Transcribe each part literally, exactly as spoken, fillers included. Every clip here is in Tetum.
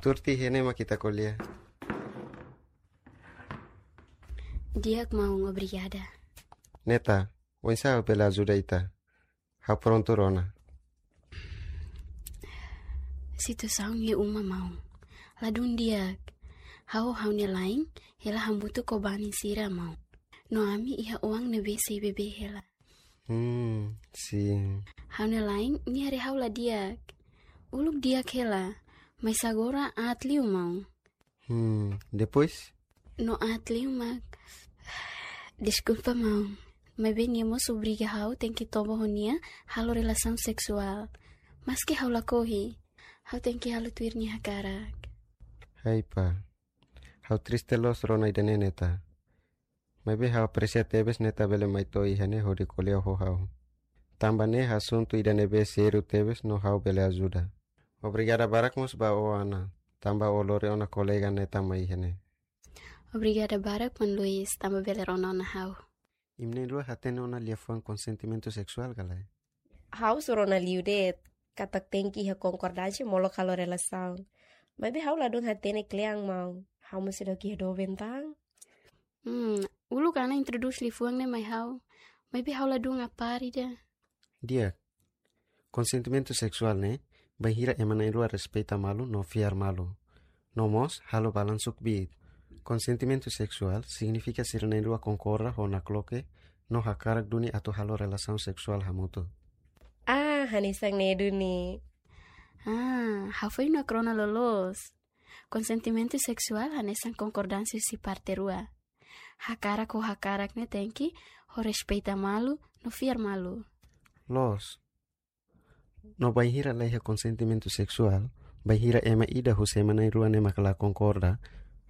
Tuur tiha ne'e mak ita ko'alia. Di'ak maun, obrigada. Neta, oinsá ha'u bele ajuda ita? Ha'u prontu rona. Situasaun iha uma maun. Ladún di'ak. Ha'u ho ha'u-nia la'en, hela hamutuk ho banin sira maun. No ami iha oan ne'ebé sei bebé hela. Hmm, sin. Ha'u-nia la'en, nia haree ha'u la di'ak. Uluk di'ak hela, mais agora aat liu maun. Hmm, depois? No aat liu mak. Deskulpa maun. Maibé nia mós obriga ha'u tenke toba ho nia halo relasaun seksuál. Maski ha'u lakohi, ha'u tenke halo tuir nia hakarak. Hai pá. Ha'u triste loos rona ida-ne'e, Neta. Maibé ha'u apresia tebes Neta bele mai to'o iha ne'e hodi ko'alia ho ha'u. Tanba ne'e asuntu ida ne'ebé sériu tebes no ha'u bele ajuda. Obrigada barak mós ba ó, Ana, tanba ó lori ona kolega Neta mai iha ne'e. Obrigada barak maun Luis, tanba bele rona ona ha'u. Imi na'in-rua hatene ona liafuan konsentimentu seksuál ka lae? Ha'u só rona liu de'it, katak tenke iha konkordánsia molok halo relasaun. Maibé ha'u ladún hatene kle'an maun. Ha'u mós seidauk iha doben tan. Hmm, uluk Ana introdús liafuan ne'e mai ha'u. Maibé ha'u ladún apari ida. Di'ak. Konsentimentu seksuál ne'e bainhira ema na'in-rua respeita malu no fiar malu. No mós halo balansu kbiit. Konsentimentu seksuál signifika sira na'in-rua konkorda ho nakloke no hakarak duni atu halo relasaun seksuál hamutuk. Ah, hanesan ne'e duni. Ah, hafoin no krona loloos. Konsentimentu seksuál hanesan konkordánsia husi parte rua. Hakarak ho hakarak ne'e tenke ho respeita malu no fiar malu. Loos. No bainhira laiha konsentimentu seksuál, bainhira ema ida husi ema na'in-rua ne'e mak la konkorda,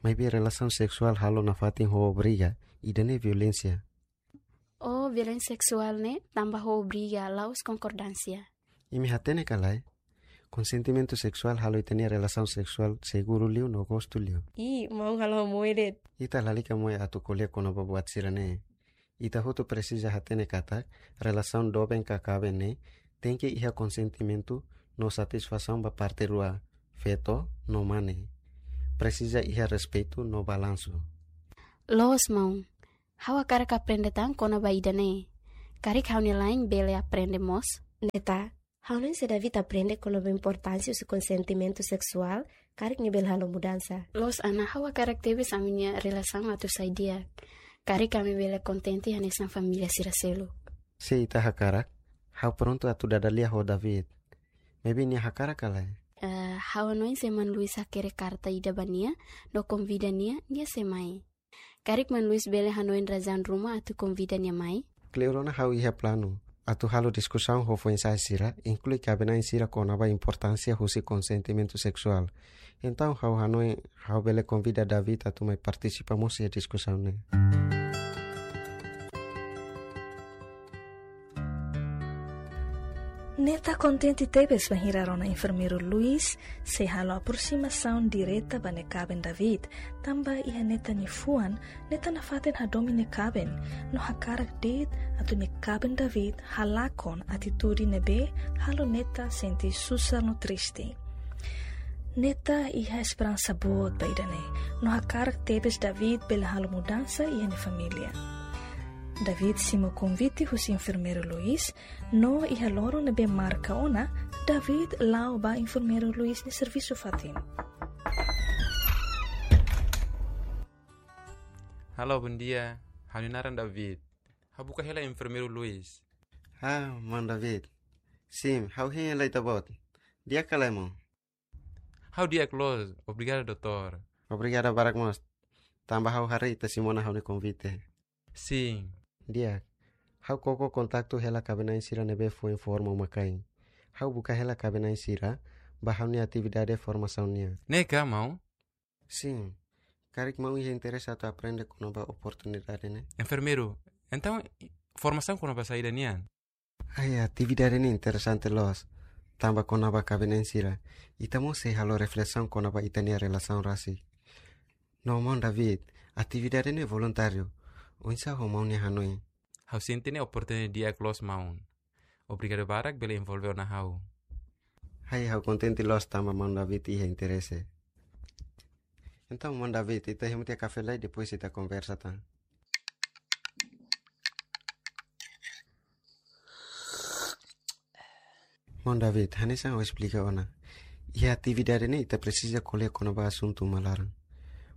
maibé relasaun seksuál halo nafatin ho obriga, ida-ne'e violénsia. Oh, violénsia seksuál ne'e tanba ho obriga, la'ós konkordánsia. Imi hatene ka lae? Konsentimentu seksuál halo ita-nia relasaun seksuál seguru liu no gostu liu. Ih, maun halo moe de'it. Ita lalika moe atu ko'alia kona-ba buat sira-ne'e. Ita hotu presiza hatene katak relasaun doben ka kaben ne'e tenke iha konsentimentu no satisfasaun ba parte rua, feto no mane. Presiza iha respeitu no balansu. Loos maun. Ha'u hakarak aprende tan kona-ba ida-ne'e. Karik ha'u-nia la'en bele aprende mós. Neta, ha'u hanoin se David aprende kona-ba importánsia husi konsentimentu seksuál, karik nia bele halo mudansa. Loos Ana, ha'u hakarak tebes ami-nia relasaun atu sai di'ak. Karik ami bele kontente hanesan família sira seluk. Se ita hakarak, ha'u prontu atu dada lia ho David. Maibé nia hakarak ka lae? Eh, ha'u hanoin se maun Luis hakerek karta ida ba nia, no konvida nia, nia sei mai. Karik maun Luis bele hanoin razaun ruma atu konvida nia mai? Kleur ona ha'u iha planu atu halo diskusaun ho foin-sa'e sira, inklui kaben-na'in sira kona-ba importánsia husi konsentimentu seksuál. Entaun ha'u hanoin ha'u bele konvida David atu mai partisipa mós iha diskusaun ne'e. Neta kontente tebes bainhira rona enfermeiru Luis sei halo aprosimasaun direta ba nia kaben David, tanba iha Neta nia fuan, Neta nafatin hadomi nia kaben, no hakarak de'it atu nia kaben David halakon atitude ne'ebé halo Neta sente susar no triste. Neta iha esperansa boot ba ida-ne'e, no hakarak tebes David bele halo mudansa iha nia família. David simu konvite husi enfermeiru Luis, no iha loron ne'ebé marka ona, David la'o ba enfermeiru Luis nia servisu fatin. Halo, bondia. Ha'u-nia naran David. Ha'u buka hela enfermeiru Luis. Ah, maun David. Sin, ha'u hein hela ita-boot. Di'ak ka lae maun? Ha'u di'ak loos, obrigadu doutór. Obrigadu barak mós. Tanba ha'u haree ita simu ona ha'u-nia konvite. Sin. Di'ak. Ha'u koko kontaktu hela kaben-na'in sira ne'ebé foin forma uma-kain. Ha'u buka hela kaben-na'in sira ba ha'u-nia atividade formasaun nian. Ne'e ka maun? Sin. Karik maun iha interese atu aprende kona-ba oportunidade ne'e? Enfermeiru, entaun formasaun kona-ba saida nian? Ai, atividade ne'e interesante loos. Tanba kona-ba kaben-na'in sira, ita mós sei halo reflesaun kona-ba ita-nia relasaun rasik. No maun David, atividade ne'e voluntáriu. Oinsá ho maun nia hanoin? Ha'u sente ne'e oportunidade di'ak loos maun. Obrigadu barak bele envolve ona ha'u. Ai, ha'u kontente loos tanba maun David iha interese. Entaun, maun David, ita hemu tiha kafé lai, depois ita konversa tan. Maun David, hanesan ha'u esplika ona, iha atividade ne'e ita presiza ko'alia kona-ba asuntu uma laran.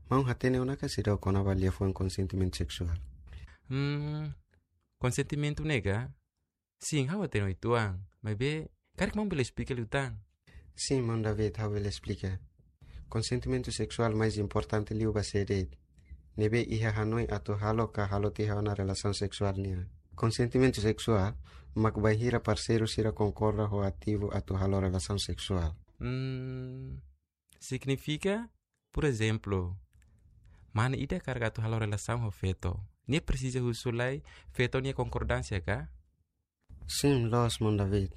Maun hatene ona ka seidauk kona-ba liafuan konsentimentu seksuál? Hmm, konsentimentu ne'e ka? Sin, ha'u hatene uitoan. Maibé, karik maun bele esplika liután? Sin, maun David, ha'u bele esplika. Konsentimentu seksuál mais importante liu ba sé de'it ne'ebé iha hanoin atu halo ka halo tiha ona relasaun seksuál nian? Konsentimentu seksuál mak bainhira parseiru sira konkorda ho ativu atu halo relasaun seksuál. Hmm, signifika, por ezemplu, mane ida hakarak atu halo relasaun ho feto, nia presiza husu lai feto nia konkordánsia ka? Sin, loos, maun David.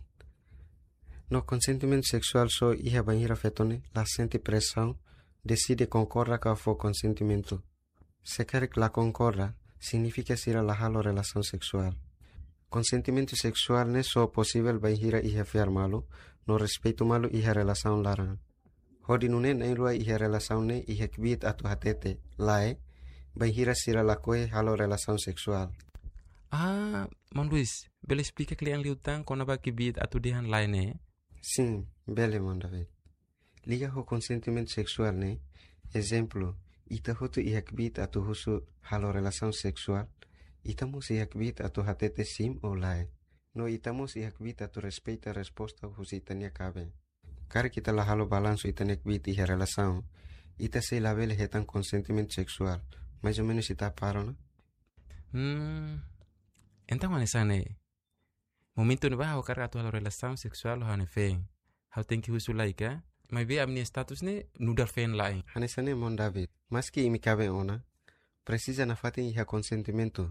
No konsentimentu seksuál só iha bainhira feto ne'e la sente presaun, deside konkorda ka fó konsentimentu. Se karik la konkorda, signifika sira la halo relasaun seksuál. Konsentimentu seksuál ne'e só posivel bainhira iha fiar malu no respeitu malu iha relasaun laran. Hodi nune'e na'in-rua iha relasaun ne'e iha kbiit atu hatete lae bainhira sira lakohi halo relasaun seksuál. Ah, maun Luis, bele esplika kle'an liután kona-ba kbiit atu dehan lae ne'e? Sin, bele, maun David. Liga ho konsentimentu seksuál ne'e, ezemplu, ita hotu iha kbiit atu husu halo relasaun seksuál, ita mós iha kbiit atu hatete sin ou lae. No ita mós iha kbiit atu respeita resposta husi ita-nia kaben. Karik ita la halo balansu ita-nia kbiit iha relasaun, ita sei labele hetan konsentimentu seksuál. Mais ou menus ita para ona? Hmm, entaun hanesan ne'e. Momentu ne'ebá ha'u hakarak atu halo relasaun seksuál ho ha'u-nia feen, ha'u tenke husu lai ka? Maibé ami-nia status ne'e nu'udar feen la'en. Hanesan ne'e, maun David. Maski imi kaben ona, presiza nafatin iha konsentimentu.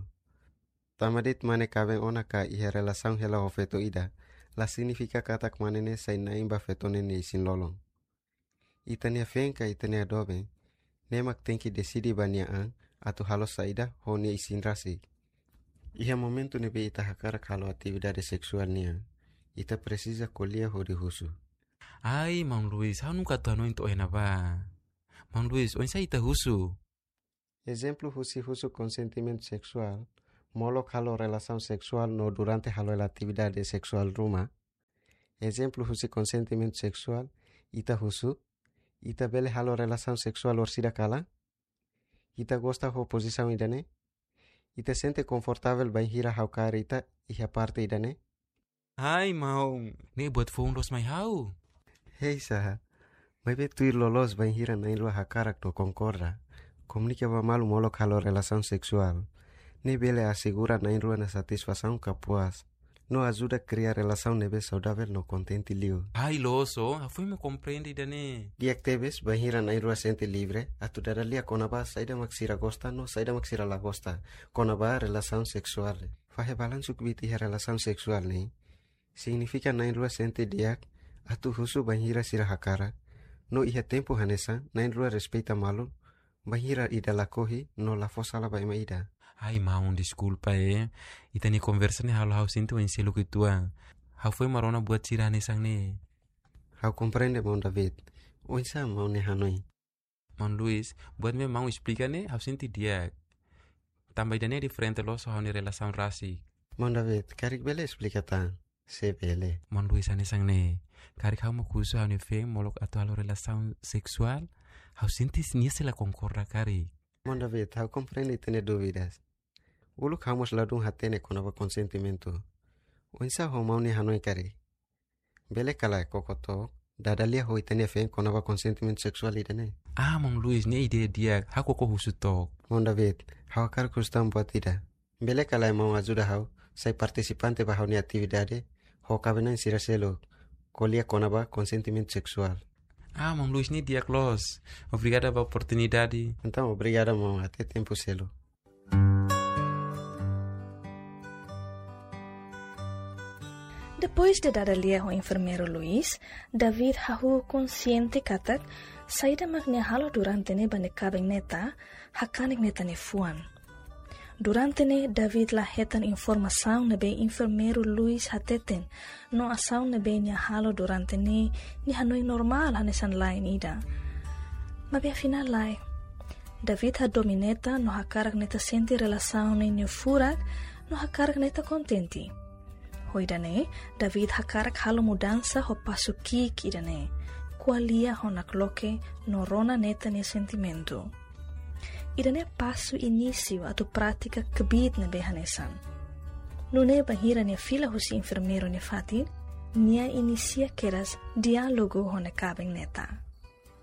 Tanba de'it mane kaben ona ka iha relasaun hela ho feto ida, la signifika katak mane ne'e sai na'in ba feto ne'e nia isin-lolon. Ita-nia feen ka ita-nia doben, ne'e mak tenke deside ba nia an atu halo saida ho nia isin rasik. Iha momentu ne'ebé ita hakarak halo atividade seksuál nian, ita presiza ko'alia hodi husu. Ai, maun Luis, ha'u nunka atu hanoin to'o iha ne'ebá. Maun Luis, oinsá ita husu? Ezemplu husi husu konsentimentu seksuál, molok halo relasaun seksuál no durante halo hela atividade seksuál ruma. Ezemplu husi konsentimentu seksuál, ita husu, ita bele halo relasaun seksuál orsida kalan? Ita gosta ho pozisaun ida-ne'e? Ita sente konfortavel bainhira ha'u kaer ita iha parte ida-ne'e? Ai, maun, ne'e buat foun loos mai ha'u. Hei, saha. Maibé tuir loloos bainhira na'in-rua hakarak no konkorda, komunika ba malu molok halo relasaun seksuál. Ne'e bele asegura na'in-rua nia satisfasaun ka puas. No ajuda kria relasaun ne'ebé saudavel no kontente liu. Ai, loos, ha'u foin mak komprende ida-ne'e. Di'ak tebes bainhira na'in-rua sente livre atu dada lia kona-ba saida mak sira gosta no saida mak sira la gosta kona-ba relasaun seksuál. Fahe balansu kbiit iha relasaun seksuál ne'e signifika na'in-rua sente di'ak atu husu bainhira sira hakarak, no iha tempu hanesan na'in-rua respeita malu bainhira ida lakohi no la fó sala ba ema ida. Ai, maun, deskulpa, eh. Ita-nia konversa ne'e halo ha'u sente oin seluk uitoan. Ha'u foin mak rona buat sira hanesan ne'e. Ha'u komprende, maun David. Oinsá maun nia hanoin? Maun Luis, buat ne'ebé maun esplika ne'e, ha'u sente di'ak. Tanba ida-ne'e diferente loos ho ha'u-nia relasaun rasik. Maun David, karik bele esplika tan, se bele? Maun Luis, hanesan ne'e. Karik ha'u mak husu ha'u-nia feen molok atu halo relasaun seksuál, ha'u sente nia sei la konkorda karik. Maun David, ha'u komprende ita-nia dúvidas. Uluk ha'u mós ladún hatene kona-ba konsentimentu. Oinsá ho maun nia hanoin karik? Bele ka lae koko took, dada lia ho ita-nia feen kona-ba konsentimentu seksuál ida-ne'e? Ah, maun Luis, ne'e ideia di'ak, ha'u koko husu took. Maun David, ha'u hakarak husu tan buat ida. Bele ka lae maun ajuda ha'u sai partisipante ba ha'u-nia atividade ho kaben-na'in sira seluk, ko'alia kona-ba konsentimentu seksuál? Ah, maun Luis, ne'e di'ak loos. Obrigada ba oportunidade. Entaun, obrigada maun, até tempu seluk. Depois de dada lia ho enfermeiru Luis, David hahú konsiente katak saida mak nia halo durante ne'e ba nia kaben Neta, hakanek Neta nia fuan. Durante ne'e David la hetan informasaun ne'ebé enfermeiru Luis hateten, no asaun ne'ebé nia halo durante ne'e nia hanoin normál hanesan la'en ida. Maibé afinál lae. David hadomi Neta no hakarak Neta sente relasaun ne'e nia furak no hakarak Neta kontente. Ho ida-ne'e, David hakarak halo mudansa ho pasu ki'ik ida-ne'e, ko'alia ho nakloke no rona Neta nia sentimentu. Ida-ne'e pasu inísiu atu prátika kbiit ne'ebé hanesan. Nune'e bainhira nia fila husi enfermeiru nia fatin, nia inisia kedas diálogu ho nia kaben Neta.